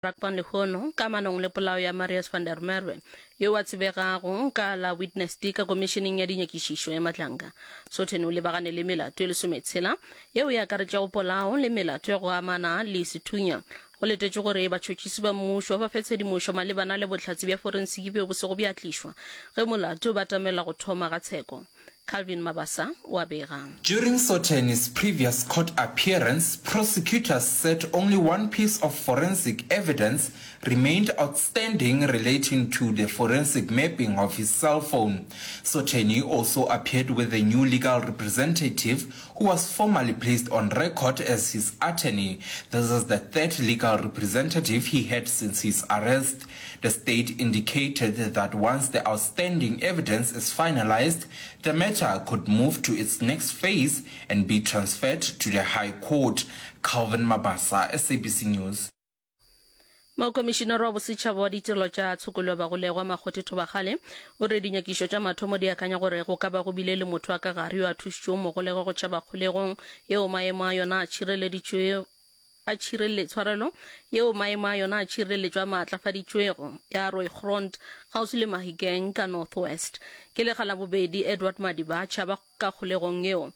Brakpan lehono kamanong le polao ya Marius van der Merwe, yo a tsebegago ka la Witness D ka Komišeneng ya Dinyakišišo ya Matlanka. Sotheni o lebagane le melato e lesometshela yeo e akaretšago polao le melato ya go amana le sethunya. Go letetšwe gore batšhotšhisi ba mmušo ba fe tshedimošo malebana le bohlatse bja forensiki bjo bo sego bja tlišwa ge molato o batamela go thoma ga tsheko. Calvin Mabasa o a bega. During Sotheni's previous court appearance, prosecutors said only one piece of forensic evidence remained outstanding relating to the forensic mapping of his cell phone. Sotheni also appeared with a new legal representative who was formally placed on record as his attorney. This is the third legal representative he had since his arrest. The state indicated that once the outstanding evidence is finalized, the matter could move to its next phase and be transferred to the High Court. Calvin Mabasa, SABC News. Mokomišinara wa Bosetšhaba wa Ditirelo tša Tshokollo ya Bagolegwa, Makgothe Thobakgale, o re dinyakišo tša mathomo di akanya gore go ka ba go bile le motho wa ka gare yo a thušitšego mogolegwa go tšhaba kgolegong yeo maemo a yona a tšhireleditšwego a tšhirele tshwarelo yeo maemo a yona a tšhireletšo a maatlafaditšwego ya Rooigrond kgauswi le Mahikeng ka North West. Ke lekga la bobedi Edward Madiba a tšhaba ka kgolegong yeo.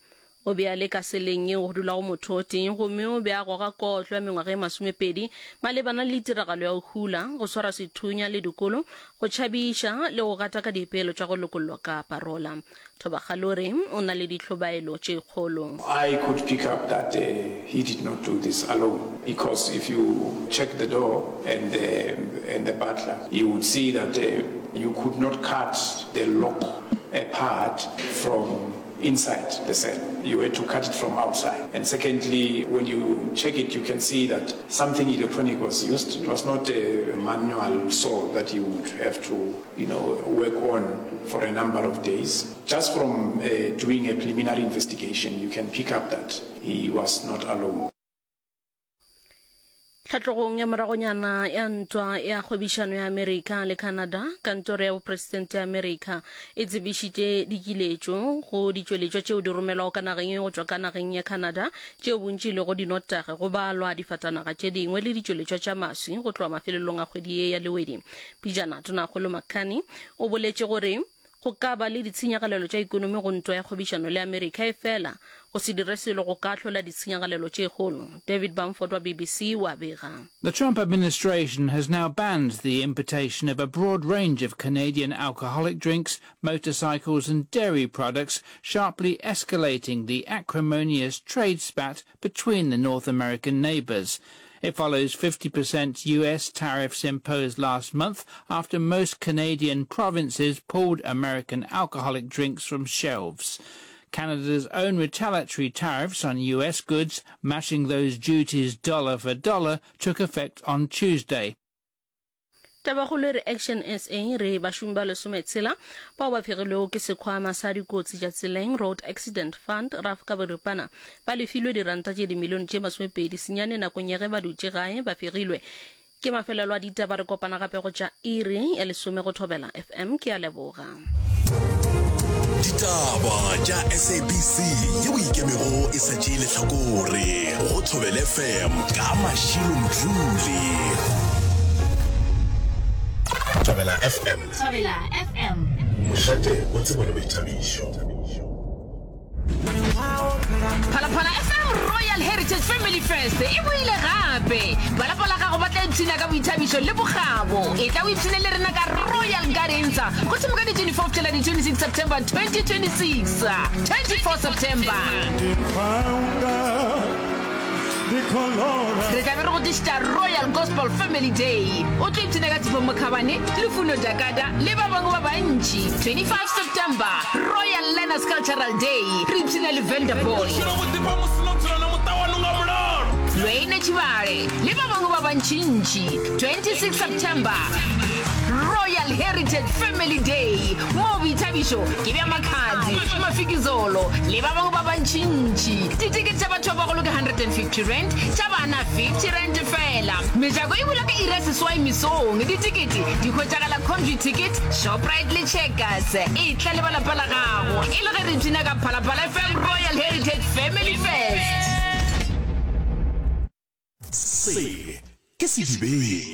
O be a le ka seleng yeo go dulago motho o tee gomme o be a goga kotlo ya mengwaga e masomepedi malebana le tiragalo ya go hula, go swara sethunya le dikolo, go tšhabiša le go gataka dipeelo tša go lokollwa ka parola. Thobakgale o re o na le dihlobaelo tše kgolo. I could pick up that he did not do this alone because if you check the door and the and the butler you would see that you could not cut the lock apart from inside the cell. You had to cut it from outside. And secondly, when you check it you can see that something electronic was used. It was not a manual saw that you would have to you know, work on for a number of days. Just from uh, doing a preliminary investigation, you can pick up that he was not alone. Tlhatlogong ya moragonyana ya ntwa ya kgwebišano ya Amerika le Canada, kantoro ya bopresidente ya Amerika e tsebišitše dikiletšo go ditšweletšwa tšeo di romelwago ka nageng ye go tšwa ka nageng ya Canada tšeo bontši e lego dinotagi, go balwa difatanaga tše dingwe le ditšweletšwa tša maswi go tloga mafelelong a kgwedi ye ya Lewedi. Pejana, Tonakgolo McCarney o boletše gore go ka ba le ditshenyagalelo tša ikonomi go ntwa ya kgwebišano le Amerika, efela go se dire selo go ka hlola ditshenyagalelo tše kgolo. David Bamford wa BBC o a bega. The Trump administration has now banned the importation of a broad range of Canadian alcoholic drinks, motorcycles and dairy products, sharply escalating the acrimonious trade spat between the North American neighbors. It follows 50% US tariffs imposed last month after most Canadian provinces pulled American alcoholic drinks from shelves. Canada's own retaliatory tariffs on US goods, matching those duties dollar for dollar, took effect on Tuesday. Tabakgolo e re Action SA re bašomi ba lesometshela bao ba fegilwego ke sekhwama sa dikotsi tša tseleng Road Accident Fund, RAF ka boripana, ba lefilwe diranta tše dimilione tše masomepedi senyane nakong ya ge ba dutše gae ba fegilwe. Ke mafelelo a ditaba re kopana gape go tša iri ya lesome go Thobela FM. Ke a leboga. Ditaba tša SABC yeo ikemego e sa tšee lehlakore go Thobela FM ka Mashilo Mdluli. Thobela FM. Thobela FM. Mošate wa tsebo le boithabišo. Phalaphala FM Royal Heritage Family Fest e boile gape. Ba lapa la gago ba tla ipshina ka boithabišo le bokgabo. Etla o ipshine le rena ka Royal Gardens go thoma ka di 24 go fihlela di 26 September 2026. 24 September. Re tla be re go tlišetša Royal Gospel Family Day. O tlo ipshina ka Tshepo Mokhabane, Lufuno Dakada le ba bangwe ba bantši. 25 September, Royal Learners Cultural Day, re ipshina le Venderboy. Lwayne Tshibale le ba bangwe ba bantšintši. 26 September, Royal Heritage Family Day, moo boithabišo ke bja Makhadzi, Mafikizolo le ba bangwe ba bantšintši. Ditekete tša batho ba bagolo ke R150, tša bana R50 feela. Mejako e bula ka iri ya seswai mesong. Ditekete di hwetšagala Computicket, Shoprite le Checkers. Etla le ba lapa la gago e le ge re ipshina ka Phalaphala FM Royal Heritage Family Fest. Se. Ke sedibeng.